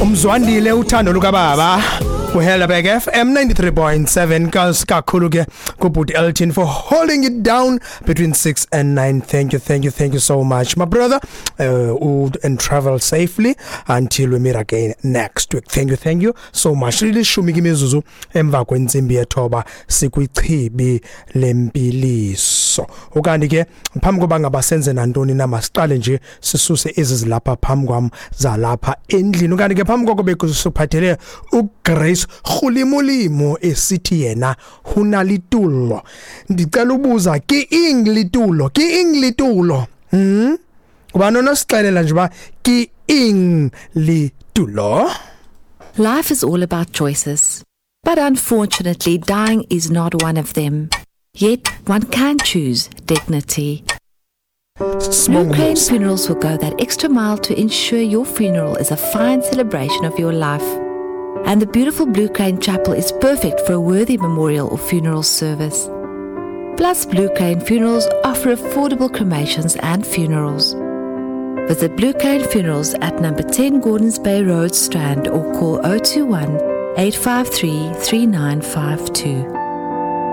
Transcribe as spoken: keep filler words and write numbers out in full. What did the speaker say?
Umzwandile uthando lukababa kuHelderberg F M ninety-three point seven. Kakhulu ke kubhuti Elton for holding it down between six and nine. Thank you, thank you, thank you so much, my brother, uh, and travel safely until we meet again next week. Thank you, thank you so much. Lilishumi ke imizuzu emva kwentsimbi yethoba, sikwichibi lempiliso. Ukanti ke phambi koba ngaba senze nantoni na, masiqale nje sisuse ezi zilapha phambi kwam zalapha endlini. Ukanti ke phambi koko bekusiphathele uGrace Rhulimulimo esithi yena hunalitulo. Ndicela ubuza, ke eng litulo? Ke eng litulo? hmm Kuba nonosixelela nje uba ke eng litulo? Life is all about choices. But unfortunately, dying is not one of them. Yet, one can choose dignity. Blue Crane Funerals will go that extra mile to ensure your funeral is a fine celebration of your life. And the beautiful Blue Crane Chapel is perfect for a worthy memorial or funeral service. Plus, Blue Crane Funerals offer affordable cremations and funerals. Visit Blue Crane Funerals at number ten Gordons Bay Road, Strand, or call oh two one, eight five three, three nine five two.